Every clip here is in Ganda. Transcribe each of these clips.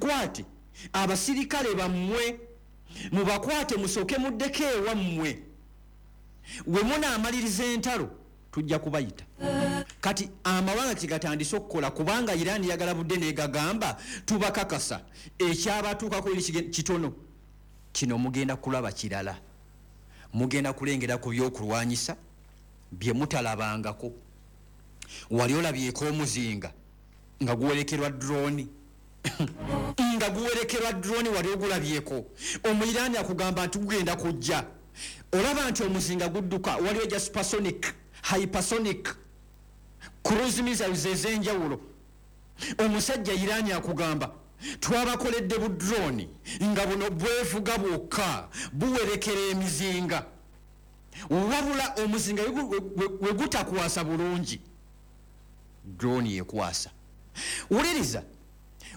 Muzikwate abasirikale bammwe, mubakwate musooke muddeko ewammwe, we munaamaliriza entalo tujja kubayita. Kati amawanga kyegatandise okukola, kubanga Iran yagala budde negagamba tubakakasa ekyabatuukako eri kitono kino, mugenda kulaba kirala, mugenda kulengera ku byokulwanyisa bye mutalabangako. Wali olabyeko omuzinga nga guwerekerwa drone? Nga guwerekerwa drone, wali ogulabyeko? Omuyiraani akugamba nti gugenda kujja. Olaba nti omuzinga gudduka, waliwo egya supersonic, hypersonic cruise missiles ez'enjawulo. Omusajja Iraani akugamba twabakoledde bu drone nga buno bwevuga bwokka, buwerekera emizinga. Wabula omuzinga we gutakwasa bulungi, drone ekwasa. Wuliriza,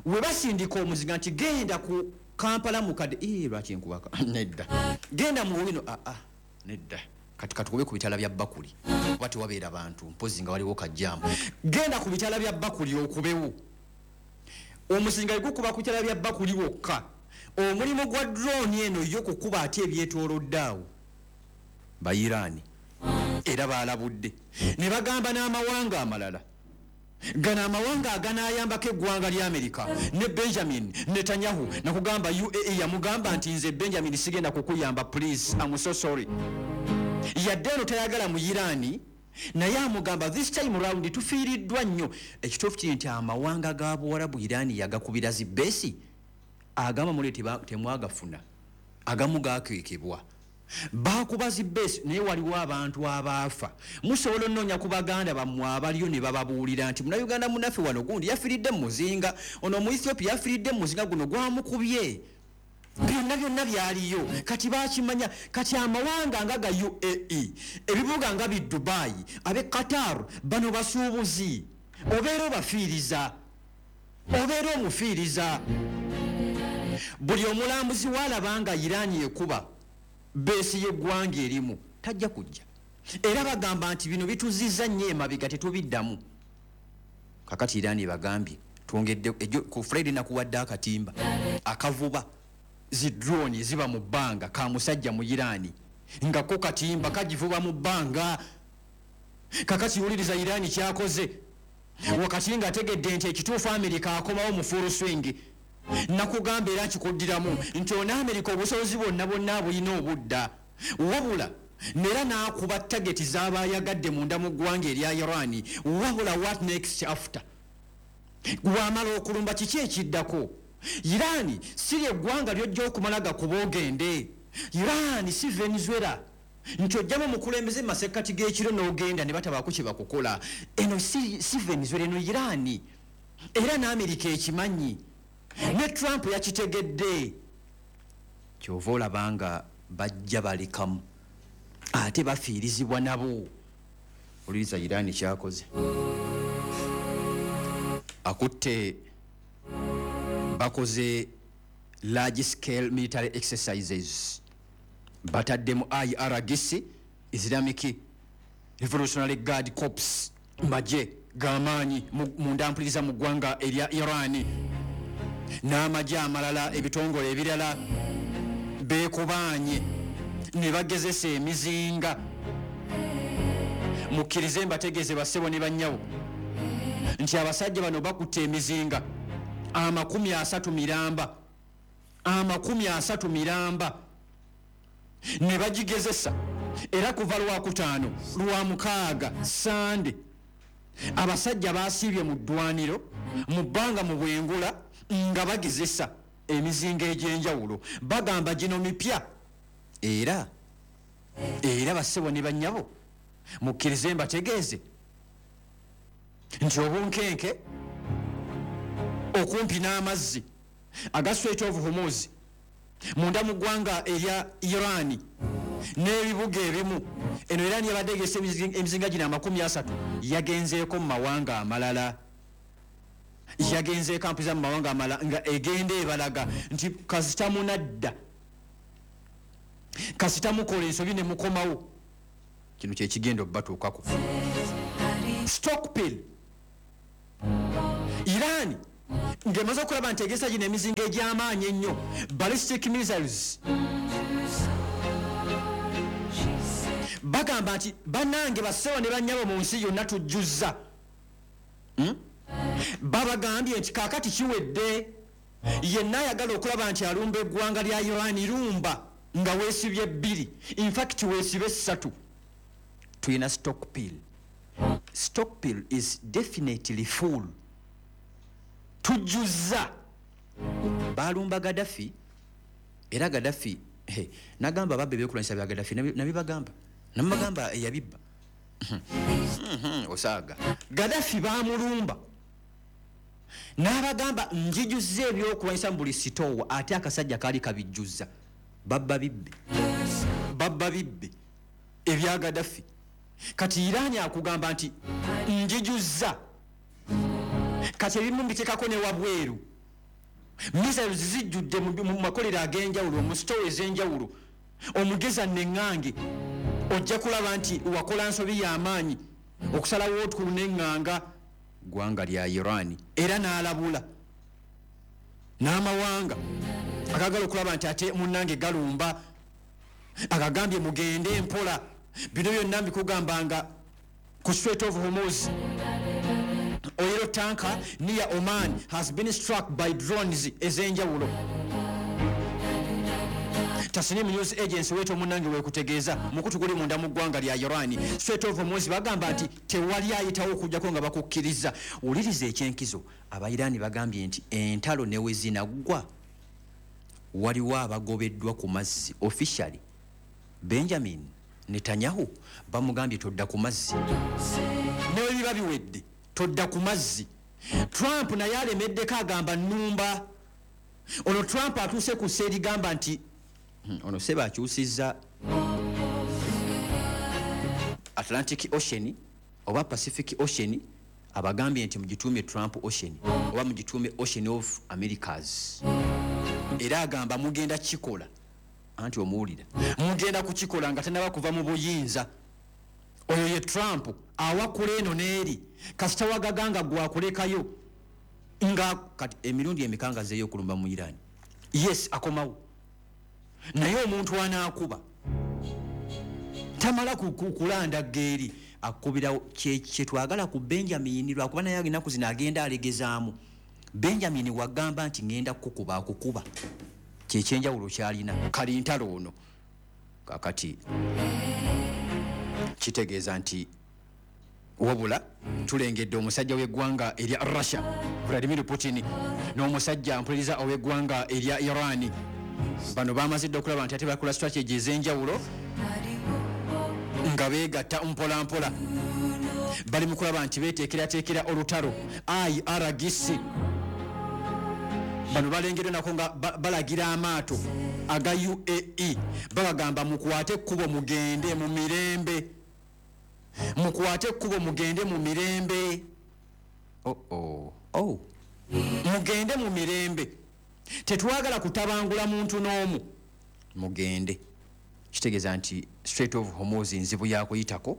we basindika omuzinga nti genda ku Kampala mukadde, lwaki nkubaka? Nedda, genda mu wino. Aa, nedda, kati katukube ku bitala bya Bakuli oba tewabeera bantu, mpozi nga waliwo kajjaamu. Genda ku bitala bya Bakuli okubewo. Omuzinga wegukuba ku bitala bya Bakuli wokka, omulimu gwa drone eno yo kukuba ate ebyetoolodde awo. Bayiraani era balabudde ne bagamba n'amawanga amalala gano, amawanga aganayambako eggwanga lya Amerika ne Benjamin Netanyahu. Nakugamba UAE yamugamba nti nze Benjamin sigenda kukuyamba, please, am so sorry. Yadde eno tayagala mu Iraani, naye amugamba this time round tufiiriddwa nnyo. Ekituufu kiri nti amawanga ga Buwarabu Iraani yagakubira zi base, agamba mule temwagafuna, agamu gakeekebwa, bakuba zi base, naye waliwo abantu abaafa. Musobola onoonya ku baganda bammwe abaliyo ne bababuulira nti Munauganda munaffe wano gundi yafiiridde mu muzinga ono, mu Ethiopia yafiiridde mu muzinga guno gwamukubye. Byonna byonna byaliyo, kati bakimanya. Kati amawanga nga ga UAE, ebibuga nga bi Dubai, abe Qatar, bano basuubuzi, obeera obafiiriza, obeera omufiiriza. Buli omulambuzi waalaba nga Iraani ekuba base y'eggwanga erimu, tajja kujja. Era bagamba nti bino bituziza nnyo emabega, tetubiddamu. Kakati Iraani ebagambye twongedde ku Friday nakuwadde akatimba akavuba zi drone ziba mu bbanga, ka musajja mu Iraani nga ko katimba kagivuba mu bbanga. Kakati wuliriza Iraani kyakoze wakati ng'ategedde nti ekituufu Amerika akomawo mu full swing. Nakugamba era nkikuddiramu nti ono Amerika obusobozi bwonna bwonna abulina obudda, wabula nera n'akuba target z'aba ayagadde munda mu ggwanga erya Iran. Wabula what next after? Wamala okulumba, kiki ekiddako? Iran si lyeggwanga lyojja okumala gakuba ogende. Iran si Venezuela nti ojjamu omukulembeze mu masekkati g'ekiro n'ogenda ne batabaako kye bakukola. Eno si Venezuela, eno Iran. Era n'Amerika ekimanyi, ne Trump yakitegedde. Kyova olaba nga bajja balekamu ate bafiirizibwa nabo. Oliriza Iran kyakoze, akutte bakoze large scale military exercises, bataddemu IRGC, Islamic Revolutionary Guard Corps, magye g'amaanyi munda mpuliriza mu ggwanga erya Iran, n'amagye amalala, ebitongole ebirala beekubaanye ne bagezesa emizinga. Mukkirize mbategeeze, bassebo ne bannyabo, nti abasajja bano bakutte emizinga 30 miramba, 30 miramba, ne bagigezesa. Era kuva Lwakutaano, Lwamukaaga, Sande, abasajja basiibye mu ddwaniro mu bbanga mu bwengula nga bagezesa emizinga egy'enjawulo. Bagamba gino mipya. Era bassebo ne bannyabo, mukkirize mbategeeze nti obunkenke okumpi n'amazzi aga Strait of Hormuz munda mu ggwanga erya Iran n'ebibuga ebimu, eno Iran yabadde egesa emizinga gino 30, yagenzeeko mu mawanga amalala, yagenzeeko ampiza mu mawanga amalala nga egenda ebalaga nti kasita munadda, kasita mukola ensobi ne mukomawo, kino kyekigenda obbatuukako. Stockpile Iran. Ng'emaze okulaba nti egesa gino emizinga egy'amaanyi ennyo, ballistic missiles, bagamba nti bannange bassebo ne bannyabo mu nsi yonna tujjuzza. Babagambye nti kaakati kiwedde, yenna ayagala okulaba nti alumba eggwanga lya Iran, lumba nga weesibye bbiri, infact weesibe ssatu. Tulina stockpile, stockpile is definitely full, tujjuzza. Balumba Gaddafi, era Gaddafi nagamba ababba ebyokulwanyisa bya Gaddafi, nabibagamba, namubagamba eyabibba osaaga. Gaddafi bamulumba n'abagamba njijuzza ebyokulwanyisa mu buli sitoowa, ate akasajja kaali kabijjuzza. Babba bibbe, babba bibbe ebya Gaddafi. Kati Irani akugamba nti njijuzza, kati ebimu mbitekako ne wabweru. Missiles zijjudde mu makolero ag'enjawulo, mu sitoowa ez'enjawulo. Omugeza neŋŋange ojja kulaba nti wakola nsobi y'amaanyi okusalawo otukulu neŋŋanga ggwanga lya Iran. Era n'alabula n'amawanga agagala okulaba nti ate munnange galumba, agagambye mugende mpola. Bino byonna mbikugambanga ku Strait of Hormuz. Oil tanker near Oman has been struck by drones ez'enjawulo. Tasnim News Agency wetu omunnange wekutegeeza mukutu guli munda mu ggwanga lya Iran. Strait of Hormuz bagamba nti tewali ayitawo okujjako nga bakukkiriza. Wuliriza ekyenkizo, Abairani bagambye nti entalo ne we zinaggwa waliwo abagobeddwa ku mazzi officially. Benjamin Netanyahu bamugambye todda ku mazzi, ne bwe biba biwedde todda ku mazzi. Trump naye alemeddeko, agamba nnumba. Ono Trump atuuse ku sseerigamba nti ono seba akyusizza Atlantic Ocean oba Pacific Ocean, abagambye nti mugituume Trump Ocean oba mugituume Ocean of Americas. Era agamba mugenda kikola, anti omuwulira, mugenda kukikola nga tanaba kuva mu buyinza. Oyo ye Trump, awakula eno n'eri, kasita wagaganga gwakulekayo. Nga kati emirundi emeka nga zeeyo okulumba mu Iran? Yes, akomawo, naye omuntu anaakuba tamala kulandagga eri akubirawo. Kyetwagala ku Benjamin, lwakuba naye ennaku zino agenda alegezaamu. Benjamin wagamba nti ngenda kukuba, akukuba, kyekyenjawulo kyalina kalintalo ono. Kakati kitegeeza nti wabula tulengedde omusajja w'eggwanga erya Russia Vladimir Putin n'omusajja mpuliriza ow'eggwanga erya Iran. Bano bamazidde okulaba nti ate bakola strategy ez'enjawulo nga beegatta mpola mpola, bali mu kulaba nti beeteekerateekera olutalo. IRGC bano balengeddwa nako nga balagira amaato aga UAE, babagamba mukwate ekkubo mugende mu mirembe, mukwate ekkubo mugende mu mirembe. Oh. Mugende mu mirembe, tetwagala kutabangula muntu n'omu, mugende. Kitegeeza nti Strait of Hormuz nzibu yakuyitako,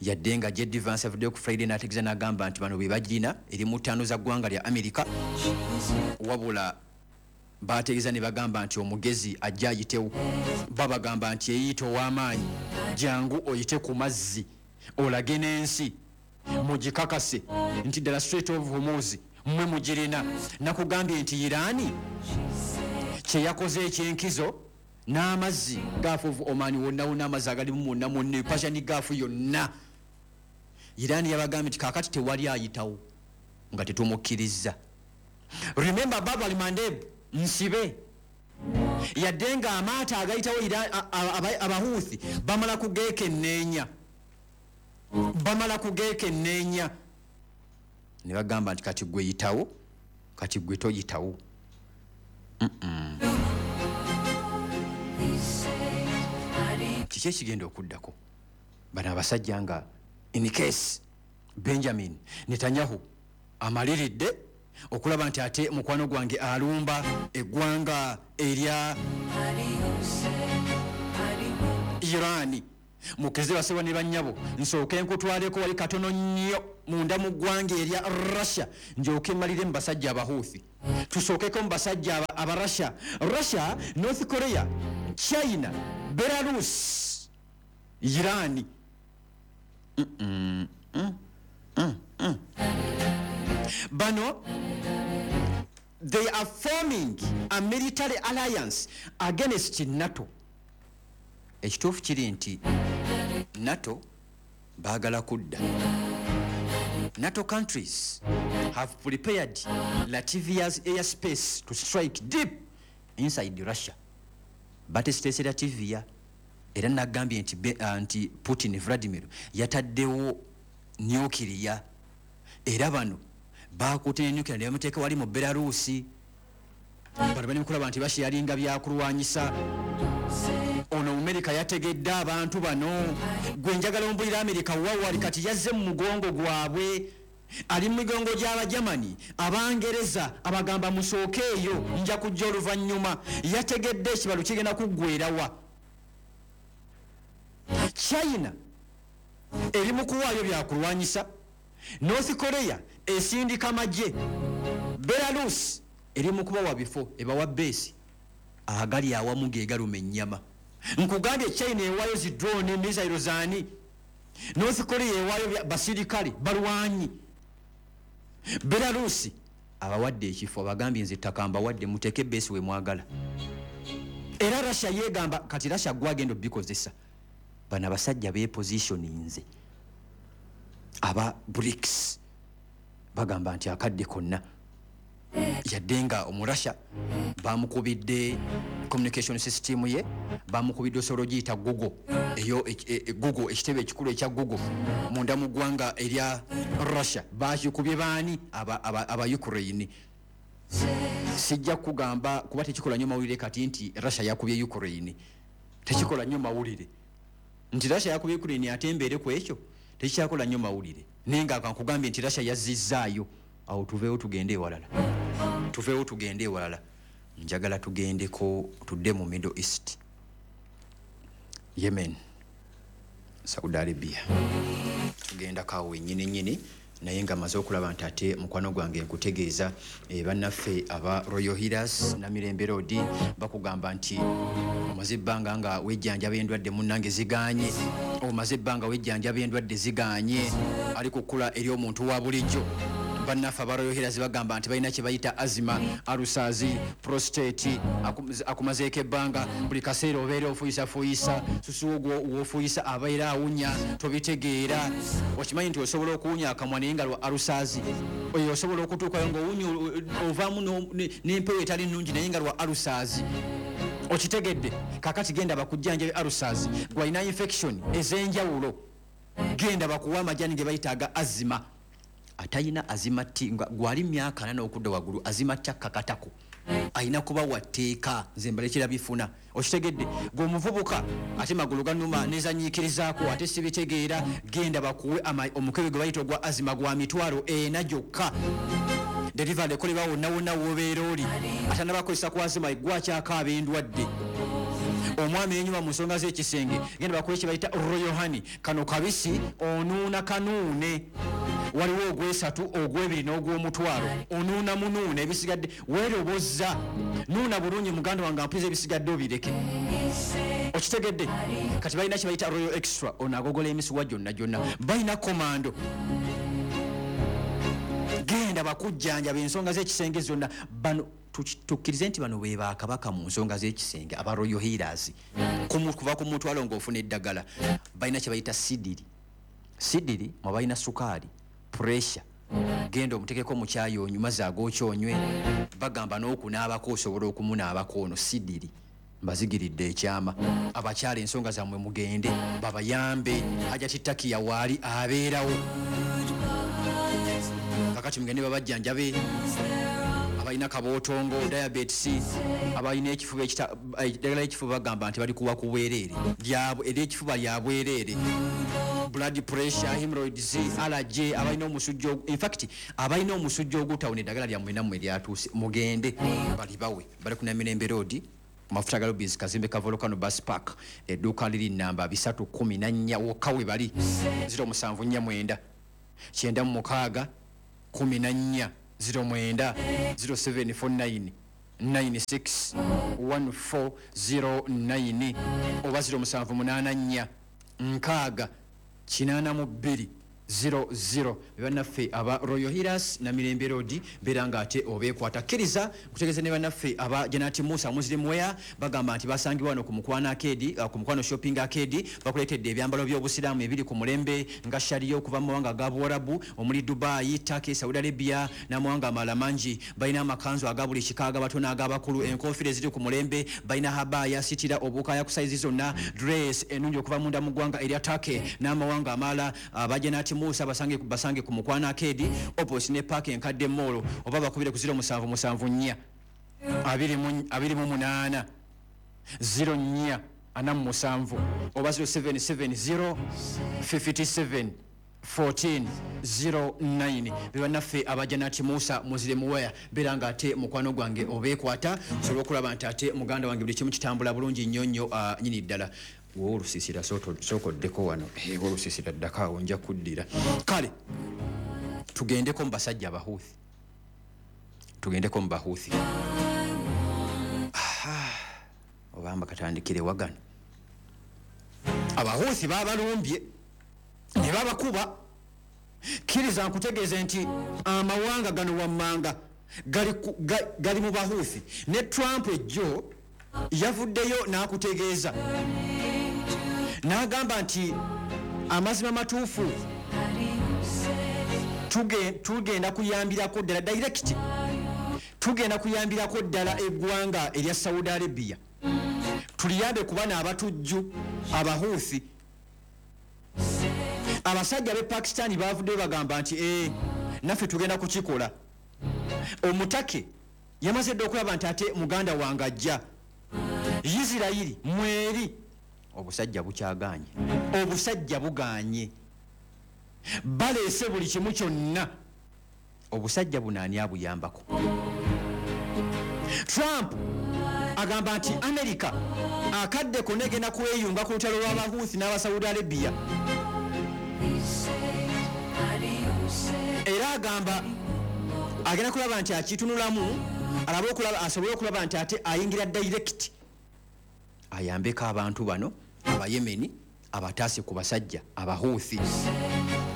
yadde nga JD Vance avuddeyo ku Friday n'ategeeza n'agamba nti bano be bagirina, eri mu ttaano za ggwanga lya America. Wabula bategeeza ne bagamba nti omugezi ajja ayitewo. Babagamba nti eyiyita ow'amaanyi, jangu oyite ku mazzi olage n'ensi mugikakase nti ddala Strait of Hormuz mmwe mugirina. Nakugambye nti Irani kyeyakoze ekyenkizo n'amazzi Gulf of Oman wonna wonna, amazzi agalimu mwonna mwonna, Persian Gulf yonna, Irani yabagambye nti kaakati tewali ayitawo nga tetumukkiriza. Remember, Bab al Mandeb nsibe, yadde nga amaato agayitawo Abahuthi bamala kugeekenneenya, bamala kugeekenneenya ne bagamba nti kati gwe yitawo, kati gwe toyitawo. Kiki ekigenda okuddako? Bano abasajja nga in case Benjamin Netanyahu amaliridde okulaba nti ate mukwano gwange alumba eggwanga erya Irani. Mukeze basebwa ne bannyabo, nsooke nkutwaleko wali katono nnyo. munda mu ggwanga erya Russia, njooke mmalire mu basajja Abahuuthi. Tusookeko mu basajja aba Russia. Russia, North Korea, China, Belarus, Iran. Bano they are forming a military alliance against NATO. Ekituufu kiri nti NATO baagala kudda. NATO countries have prepared Latvia's airspace to strike deep inside Russia. Batesitese Latvia, era nagambye nti Putin Vladimir yataddewo nuclear, era bano bakutte ne nuclear ne bamuteeka wali mu Belarusi. Bano bali mukulaba nti basharinga byakulwanyisa. Ono Amerika yategedde abantu bano. Gwe njagala ombulira Amerika wawali kati yazze mu mugongo gwabwe, ali mu migongo gy'Abajamani, Abangereza abagamba musooke eyo nja kujja oluvannyuma. Yategedde ekibalo kigenda kuggwerawa. China eri mu kuwaayo byakulwanyisa, North Korea esindika magye, Belarus eri mu kubawa bifo, ebawa beesi agali awamu ge galuma ennyama. Nkugambye China ewaayo zi drone, missile zaani, North Korea ewaayo basirikale balwanyi, Belarus abawadde ekifo, abagambye nze ettaka mbawadde muteeke beesi we mwagala. Era Russia yeegamba kati Russia gwagenda obikozesa. Bano abasajja beepositioninze aba BRICS bagamba nti akadde konna, yadde nga Omurasha bamukubidde communication system ye, bamukubidde osobola ogiyita Google, eyo Google, ekitebe ekikulu ekya Google munda mu ggwanga erya Russia bakikubye baani? Aba Ukraine. Sijja kugamba kuba tekikola nnyo mawulire kati nti Russia yakubye Ukraine, tekikola nnyo mawulire nti Russia yakubye Ukraine, ate embeere ku ekyo tekikyakola nnyo mawulire. Naye nga kankugambye nti Russia yazzizzaayo. Awo tuveewo tugende ewalala, tuveewo tugende ewalala. Njagala tugendeko tudde mu Middle East, Yemen, Saudi Arabia. Tugendako awo wennyini nnyini, naye nga maze okulaba nti ate mukwano gwange nkutegeeza bannaffe aba Royal Healers Namirembe Road bakugamba nti omaze ebbanga nga wejjanjaba endwadde munnange ziganye, omaze ebbanga wejjanjaba endwadde ziganye, ali kukula eri omuntu wa bulijjo. Bannaffe aba Royal Healers bagamba nti balina kye bayita asthma, ulcers, prostate, akumazeeko ebbanga, buli kaseera obeera ofuyisafuuyisa, susu ogwo w'ofuuyisa abeera awunya, tobitegeera. Okimanyi nti osobola okuwunya akamwa naye nga lwa ulcers, oyo osobola okutuukayo ng'owunya ovaamu n'empewo etali nnungi naye nga lwa ulcers. Okitegedde? Kaakati genda bakujjanjabe ulcers, gw'alina infection ez'enjawulo, genda bakuwe amajani ge bayita aga asthma. Atayina azima ti nga gwali myaka 4 okudda waggulu, azima ti akakatako ayina kuba wa tteeka. Nze mbalekera bifuna. Okitegedde? Gwe omuvubuka ate magulu ganuma nezanyiikirizaako ate sibitegeera, genda bakuwe omukebe gwe bayita ogwa azima gwa 400,000 gyokka. Delivery ekolebwa wonna wonna w'obeera oli. Atannabakozesa ku azima gwakyakaaba endwadde. Omwami yenyuma mu nsonga z'ekisenge, genda bakuwe kye bayita Royal Honey. Kano kabisi onuuna kanuune, waliwo ogwesatu, ogwebiri n'ogw'omutwalo. Onuuna munuuna ebisigadde weerobozza, nuuna bulungi muganda wange ampiza ebisigadde obireke. Okitegedde? Kati balina kye bayita Royal Extra, ono agogola emisuwa gyonna gyonna. Balina komando, genda bakujjanjaba ensonga z'ekisenge zonna. Bano tukkirize nti bano be bakabaka mu nsonga z'ekisenge aba Royal Healers. Kuva ku mutwalo ng'ofuna eddagala. Balina kye bayita sidiri, sidiri mwe balina sukaali, pressure, genda omutekeko mu kyayi onywe, mazzi agookya onywe. Bagamba n'okunaabako osobola okumunaabako. Ono sidiri mbazigiridde ekyama. Abakyala ensonga zammwe mugende babayambe. Hajati Takiya waali abeerawo kakati, mugende babajjanjabe. Abalina kabootongo, diabetes, abalina ekifuba, eddagala ekifuba bagamba nti bali kuwa ku bwereere, ery'ekifuba lya bwereere. Blood pressure, hemorrhoids, allergy, abalina omusujja, in fact abalina omusujja ogutawuna, eddagala lyammwe nammwe lyatuuse, mugende balibawe. Bali ku Namirembe Road, mafuta ga Lubis, kazimbe ka Volcano Bus Park, edduuka liri namba 314 wokka we bali. 0749 96 14 09 0749 96 1409 oba 0784 6 82 00. Bannaffe aba Royal Hiras na Mirembe Road, beera nga ate obeekwata. Kkiriza nkutegeeze ne bannaffe aba Janati Musa Muslim Wear, bagamba nti basangibwa wano ku Mukwano Arcade, ku Mukwano Shopping Arcade. Bakuleetedde ebyambalo by'obusiraamu ebiri ku mulembe nga sharia okuva mu mawanga aga Buwarabu omuli Dubai, Turkey, Saudi Arabia n'amawanga amalala mangi. Balina amakanzu aga buli kika, ag'abato n'ag'abakulu, enkofiira eziri ku mulembe, balina habaya, sitira, obukaaya ku sayizi zonna, dress ennungi okuva munda mu ggwanga erya Turkey n'amawanga amalala. Aba Janati Musa basange ku Mukwano Arcade opposite ne Park Enkadde Mall, oba bakubire ku 0774 28 04 47 oba 0770 57 14 09. Bebannaffe aba Janati Musa Muslim Wear, beera nga ate mukwano gwange obeekwata osobola okulaba nti ate muganda wange buli kimu kitambula bulungi nnyo nnyo, nyini ddala. Wowe olusiisira sooka oddeko wano, olusiisira ddako awo, nja kuddira. Kale tugendeko mu basajja abahuuthi, tugendeko mu bahuuthi. Obamba katandikire wagano. Abahuuthi babalumbye ne babakuba. Kkiriza nkutegeeze nti amawanga gano wammanga gali mu bahuuthi. Ne Trump ejjo yavuddeyo n'akutegeeza n'agamba nti amazima matuufu tugenda kuyambirako ddala direct, tugenda kuyambirako ddala eggwanga erya Saudi Arabia, tuliyambe kuba n'abatujju abahuuthi. Abasajja b'e Pakistan bavuddeyo bagamba nti naffe tugenda kukikola. Omutake yamaze dda okulaba nti ate muganda wange ajja. Isirayiri mweri obusajja bukyaganye, obusajja buganye, baleese buli kimu kyonna. Obusajja buno ani abuyambako? Trump agamba nti America akadde konna egenda kweyunga ku lutalo lw'abahuuthi n'aba Saudi Arabia, era agamba agenda kulaba nti akitunulamu alabe okulaba, asobole okulaba nti ate ayingira direct ayambeko abantu bano Abayemeni abataase ku basajja abahuuthi.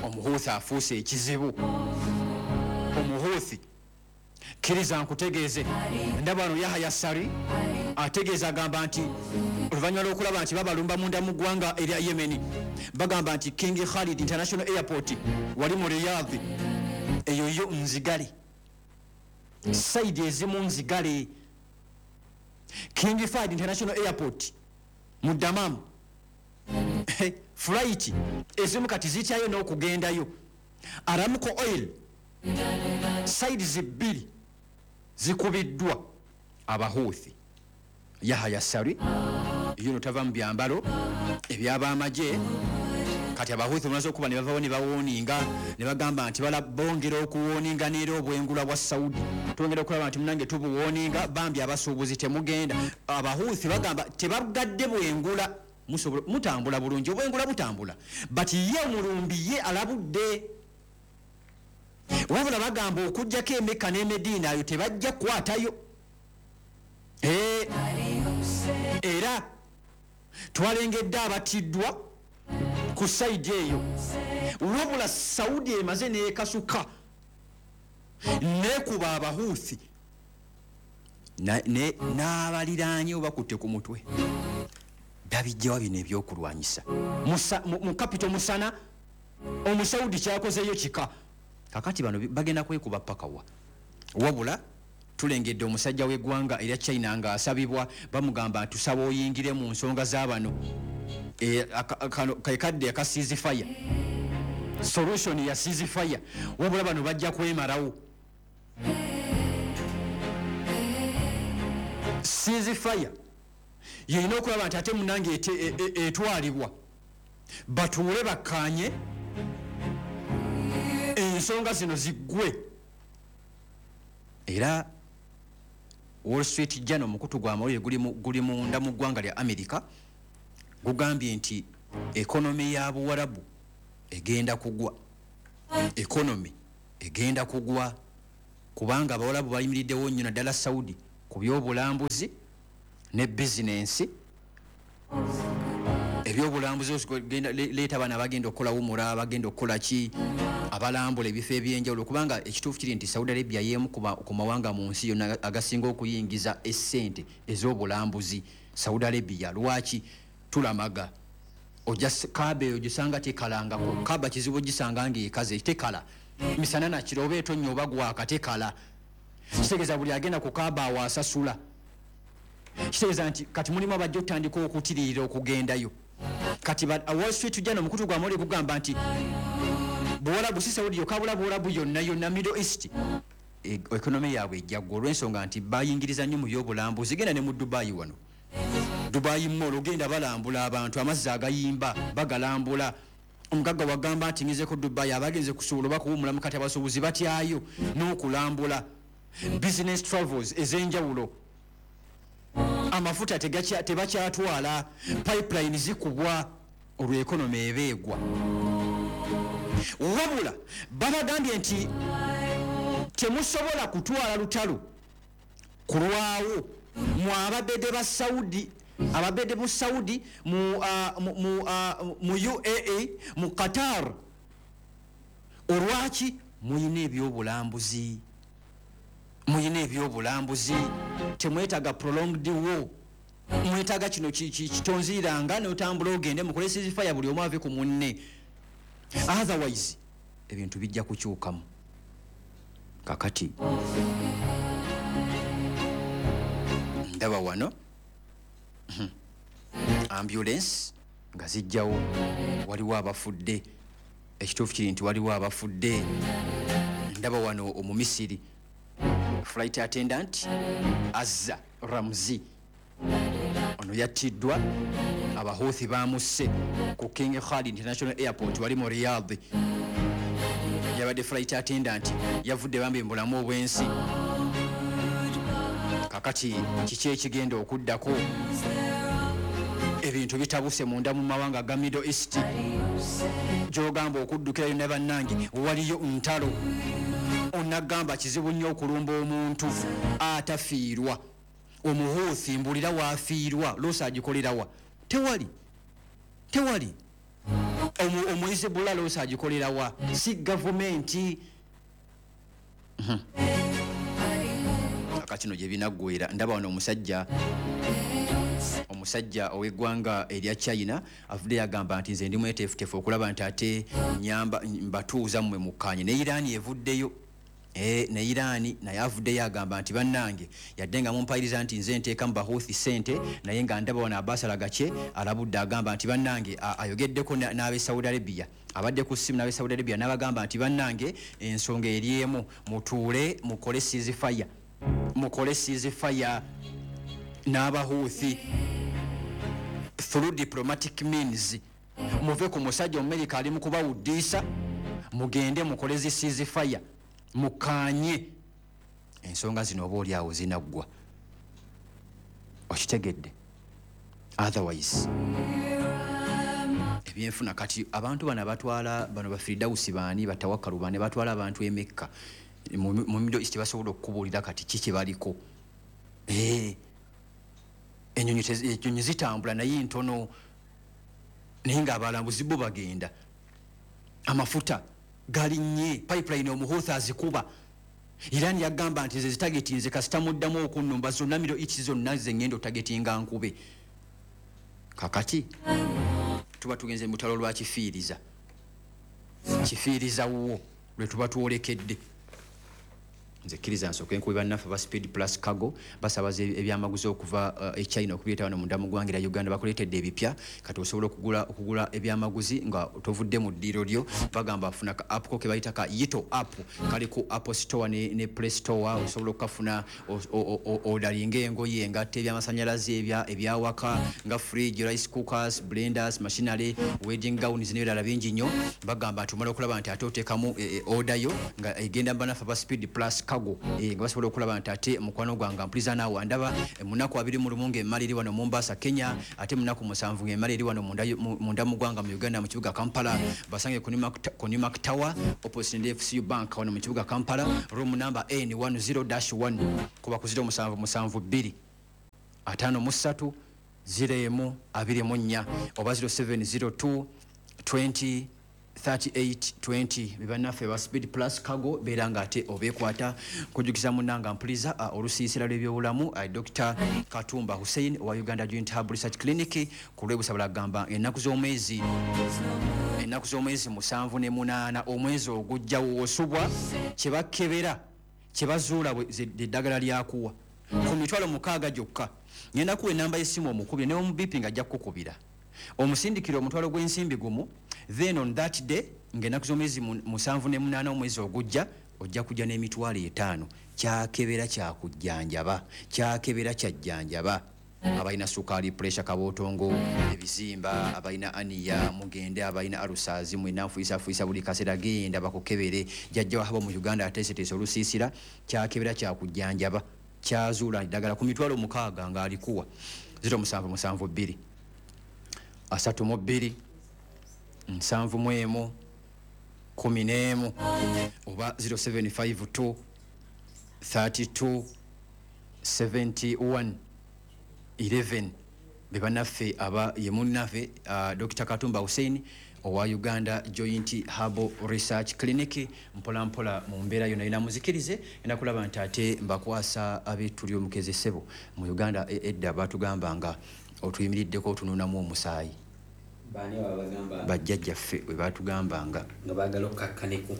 Omuhuuthi afuuse ekizibu. Omuhuuthi, kkiriza nkutegeeze, ndaba wano Yahaya Sari ategeeza agamba nti oluvannyuma lw'okulaba nti babalumba munda mu ggwanga erya Yemeni, bagamba nti King Khalid International Airport wali mu Riyadh eyo yo nzigale, side ezimu nzigale. King Fahd International Airport mu Dammam, flight ezimu kati zityayo n'okugendayo. Aramco Oil side bbiri zikubiddwa abahuuthi. Yahaya Sari yuno tava mu byambalo ebyabamagye. Kati abahuuthi bamaze okuba ne bavawo ne bawooninga ne bagamba nti bongera okuwooninga neera obwengula bwa Saudi, twongera okulaba nti munange tubuwooninga, bambi abasuubuzi temugenda. Abahuuthi bagamba tebagadde bwengula, mutambula bulungi, obwengula butambula, but ye omulumbi ye alabudde. Wabula bagamba okuggyako Emeka n'Emediina ayo tebajja kukwatayo. Era twalengedde abatiddwa ku sayidi eyo. Wabula Saudi emaze n'ekasuka nekuba abahuuthi n'abaliraanye obakutte ku mutwe. Babijjawa bino ebyokulwanyisa mu kapito musana. Omusaudi kyakozeeyo kika. Kakati bano bagenda kwekuba paka wa? Wabula tulengedde omusajja w'eggwanga erya China ng'asabibwa, bamugamba nti tusaba oyingire mu nsonga z'abano. Kekadde aka ceasefire, solution ya ceasefire. Wabula bano bajja kwemalawo. Ceasefire yeyina okulaba nti ate munange etwalibwa, batuule bakkaanye ensonga zino ziggwe. Era Wall Street Journal, omukutu gw'amawulire guli munda mu ggwanga lya America, gugambye nti economy ya Buwarabu egenda kugwa. Economy egenda kugwa kubanga Abawalabu bayimiriddewo nnyo, naddala Saudi, ku byobulambuzi ne bizinensi. Ebyobulambuzi, leeta abaana abagenda okukola wumura, abagenda okukola ki, abalambula ebifo ebyenjawulo, kubanga ekituufu kiri nti Saudi Arabia y'emu ku mawanga mu nsi yonna agasinga okuyingiza essente ez'obulambuzi. Saudi Arabia, lwaki tulamaga? Ojja Kaaba eyo gisanga tekalangako. Kaaba kizibu ogisanga ngaekaze, tekala misana nakiro, oba etonnya oba gwaka, tekala. Kitegeeza buli agenda ku Kaaba awo asasula. Kitegeeza nti kati mulimu abajja okutandika okutiririra okugendayo. Kati Wall Street Journal, omukutu gwa mawulire, gugamba nti Buwalabu, si Saudi yokka, bula Buwalabu yonna yonna, Middle East, economy yaabwe ejjaggwa olw'ensonga nti bayingiriza nnyo mu byobulambuzi. Genda ne mu Dubayi wano, Dubayi Mall, ogenda balambula abantu, amazzi agayimba bagalambula. Omugagga wagamba nti ngezeko Dubayi, abagenze kusuubula oba kuwumulamu. Kati abasuubuzi batyayo n'okulambula, business travels ez'enjawulo. Amafuta tebakyatwala, pipeline zikubwa, olwo economy eba egwa. Wabula babagambye nti temusobola kutwala lutalo kulwawo mu ababede ba Saudi, ababede mu Saudi, mu UAE, mu Qatar. Olwaki? Muyina ebyobulambuzi, muyina ebyobulambuzi, temwetaaga prolonged war. Mwetaaga kino kitonziiranga notambula ogende mukole ceasefire, buli omu ave ku munne, otherwise ebintu bijja kukyukamu. Kakati ndaba wano ambulance nga zijjawo, waliwo abafudde. Ekituufu kiri nti waliwo abafudde. Ndaba wano Omumisiri flight attendant Azza Ramzi, ono yattiddwa Abahuthi, bamusse ku King Khalid International Airport wali mu Riyadh. Yabadde flight attendant, yavudde bambi mu bulamu obw'ensi. Kakati kiki ekigenda okuddako? Ebintu bitabuse munda mu mawanga ga Middle East, gyogamba okuddukira yonna. Bannange, waliyo ntalo. Onagamba kizibu nnyo okulumba omuntu atafiirwa. Omuhuuthi mbulira waafiirwa, loss agikolerawa? Tewali, tewali. Omuhizibula loss agikolerawa? Si gavumenti. Kaka kino gye binaggwera. Ndaba wano omusajja ow'eggwanga erya China avudde yagamba nti nze ndi mweteefuteefu okulaba nti ate nyamba mbatuuza mmwe mukkaanye ne Iran. Evuddeyo. Ne Iran naye avuddeyo agamba nti bannange, yadde nga mumpayiriza nti nze nteeka mu Bahuthi sente, naye nga ndaba wano Abbas Araghchi alabudde, agamba nti bannange, ayogeddeko n'ab'e Saudi Arabia, abadde ku ssimu n'ab'e Saudi Arabia n'abagamba nti bannange, ensonga eri emu, mutuule mukole ceasefire, mukole ceasefire n'Abahuthi through diplomatic means. Muve ku musajja Omumerika ali mu kubawuddiisa, mugende mukole zi ceasefire, mukkaanye ensonga zino, oba oli awo zinaggwa. Okitegedde? Otherwise ebyenfuna. Kati abantu bano abatwala bano Bafiridawusi baani, Batawakalu baani, batwala abantu emekka mu Middle East, basobola okukubuulira kati ki kye baliko. Enyonyi zitambula naye ntono, naye ng'abalambuzi bo bagenda. Amafuta galinnye, pipeline Omuhuthi azikuba. Iran yagamba nti nze zitargetinze, kasita muddamu okunnumba zonna Middle East zonna ze ngenda otargetinga nkube. Kakati tuba tugenze mu lutalo lwa kifiiriza, kifiiriza wo lwe tuba twolekedde. Nze kkiriza nsooke nkubi bannaffe ba Speed Plus Cargo, basabaza ebyamaguzi okuva e China okubireeta wano munda mu ggwanga erya Uganda. Bakuleetedde ebipya. Kati osobola okugula ebyamaguzi nga tovudde mu ddiiro lyo. Bagamba funa ka app ko ke bayita ka Yito app, kali ku Apple Store ne Play Store. Osobola okukafuna, odalinga engoye, engatto, ebyamasanyalaze, ebyawaka nga fridge, rice cookers, blenders, machinery, wedding gowns n'ebirala bingi nnyo. Bagamba nti omala okulaba nti ate oteekamu order yo nga egenda. Bannaffe aba Speed Plus Cargo, nga basobola okulaba nti ate mukwano gwange mpuliza naawe andaba, munaku 21 ng'emmala eri wano Mombasa, Kenya, ate munaku 7 ng'emmala eri wano munda mu ggwanga mu Uganda mu kibuga Kampala. Basange ku Newmark Tower opposite ne FCU Bank wano mu kibuga Kampala, room number N10-1, kuba ku 0772 53 01 24 oba 0702 20 38 20. Bebannaffe ba Speed Plus Cargo, beera nga ate obeekwata. Kujjukiza munnanga mpuliza, olusiisira lw'ebyobulamu, Dr Katumba Hussein owa Uganda Joint Hub Research Clinic ku lw'ebusabula agamba ennaku z'omwezi 7 ne 8 omwezi ogujja, wosubwa kyebakebera kyebazuula eddagala lyakuwa ku mitwalo 6 gyokka. Ngenda kuwa enamba y'essimu omukubire ne omubipi nga ajja kukukubira, omusindikira omutwalo gw'ensimbi gumu, then on that day ng'ennaku z'omwezi 7 ne 8 omwezi ogujja ojja kujja n'emitwalo 5. Kyakebera kyakujjanjaba, kyakebera kyajjanjaba abalina sukaali, pressure, kabootongo, ebizimba, abalina aniya mugende, abalina alusaazi mwena nfuyisafuuyisa buli kaseera, genda bakukebere. Jjajja wahaba mu Uganda ateeseteese olusiisira kyakebera kyakujjanjaba kyazuula eddagala ku mitwalo 6 ng'alikuwa. 0772 32 71 11 oba 0752 32 71 11. Bebannaffe aba ye munnaffe, Dr Katumba Hussein owa Uganda Joint Herbal Research Clinic. Mpola mpola mu mbeera yonna yina muzikirize ena kulaba nti ate mbakwasa ab'ettuli omukeze ssebo. Mu Uganda edda batugambanga otuyimiriddeko otunuunamu omusaayi. Baani ababagamba? Bajjajjaffe bwe batugambanga. Nga baagala okukakkaneko.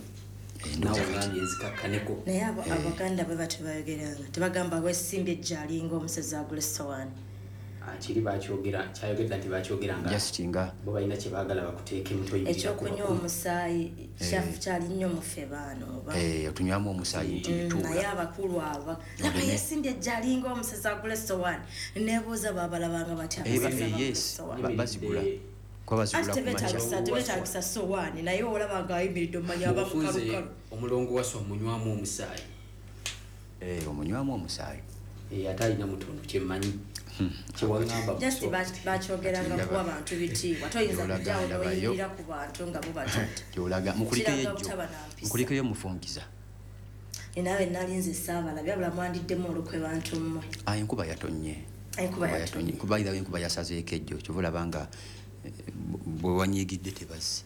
Naawe ogambye nzikakkaneko. Naye abo Abaganda bwe batyo bayogeranga, tebagamba wesimbye ejja alinga omusezi agula essowaani. Kiri bakyogera, kyayogedde nti bakyogeranga. Just nga bo balina kye baagala bakuteekemu toyimirira Ekyokunywa ku bakulu. omusaayi kyali nnyo mu ffe baana oba. Otunywamu omusaayi nti bituula. Naye abakulu aba laba yesimbye ejja alinga omusezi agula essowaani, neebuuza baabalabanga batya abasezi abagula essowaani. Bazigula. Kuba bazigula Anti ku makya. tebeetagisa ssowaani, naye olaba ng'ayimiridde omanya aba Obufunze mukalukalu. Omulongo waswa omunywamu omusaayi. Omunywamu omusaayi. Ate alina mutono kyemmanyi. Kyewaŋŋamba Just muso. bakyogeranga Kati kuwa ndaba. bantu bitiibwa. Toyinza Gy'olaga kujjawo ndabayo. n'oyimirira ku bantu nga bo batudde. Gy'olaga. Mukulikeyo Kiraga ejjo. butaba na mpisa. Mukulikeyo mufungiza. Naawe nali nze saabalabye, wabula mwandiddemu olukwe bantu mmwe. Enkuba yatonnye. Enkuba Enkuba yatonnye. yatonnye. Kuba either enkuba yasazeeko ejjo, kyova olaba nga, bwe wanyiigidde tebazze.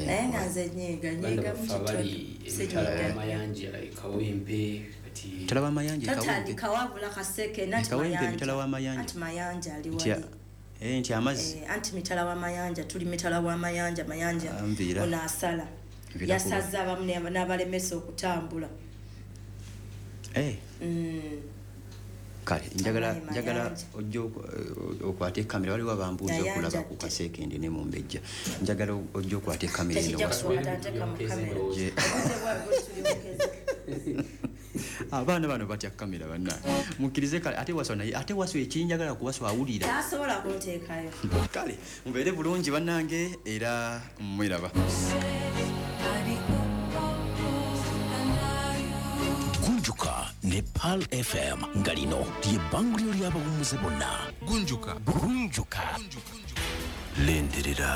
Naye nga nze nyiiga, Baganda nyiiga mu baffe kitono. abali Si emitala nyiiga. y'amayanja, Kawempe, kati Mitala w'amayanja, Kawempe. Tatandika wabula Kaseke, nanti Kawempe, Mayanja. mitala w'amayanja. Anti Mayanja ali Nti wali. Nti amazzi. Anti mitala w'amayanja, tuli mitala w'amayanja, Mayanja Nviira. ono asala. Nviira kuba. Yasaze abamu n'abalemesa okutambula. Kale, Amayi njagala Mayanja. ojje okwate kamera, waliwo abambuuza Mayanja okulaba ku ate. Kasekende ne Mumbejja. Njagala ojje okwate kamera eno Tekijja waswa. kukwata, nteeka mu kamera. Ojje. Obudde bwabwe tulyokeze. Abaana bano batya kamera bannange. Mukkirize kale, ate waswa naye, ate waswa ekinjagala kuwaswa awulira. Tasobola kunteekayo. Kale, mubeere bulungi bannange era mweraba. Gunjuka ne Pearl FM nga lino lye bbanguliro ly'abawummuze bonna. Gunjuka. Gunjuka. Lindirira.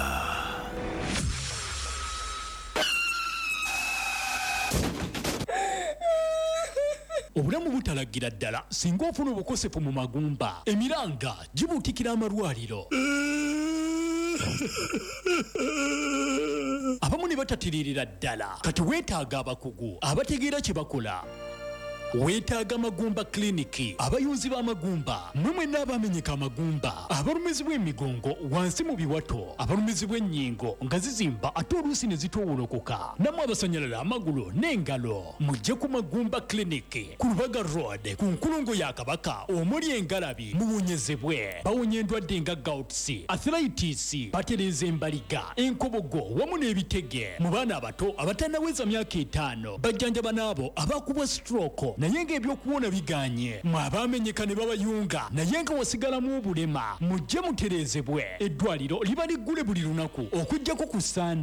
Obulamu butalagira ddala singa ofuna obukosefu mu magumba, emiranga gibuutikira amalwaliro. Abamu ne batatiririra ddala. Kati weetaaga abakugu abategeera kye bakola. Weetaaga Magumba Clinic, abayunzi b'amagumba, mmwe mwenna abamenyeka amagumba, abalumizibwa emigongo wansi mu biwato, abalumizibwa ennyingo nga zizimba ate oluusi ne zitoowolokoka, nammwe abasanyalala amagulu n'engalo, mujje ku Magumba Clinic ku Lubaga Road ku nkulungo ya Kabaka omuli engalabi, muwonyezebwe. Bawonya endwadde nga gouts, arthritis, batereeza embaliga, enkobogo wamu n'ebitege. Mu baana abato abatannaweza myaka 5 bajjanjaba n'abo abakubwa stroke naye ng'ebyokuwona biganye. Mwe abaamenyeka ne babayunga naye nga wasigalamu obulema, mujje mutereezebwe. Eddwaliro liba liggule buli lunaku okuggyako ku Sande.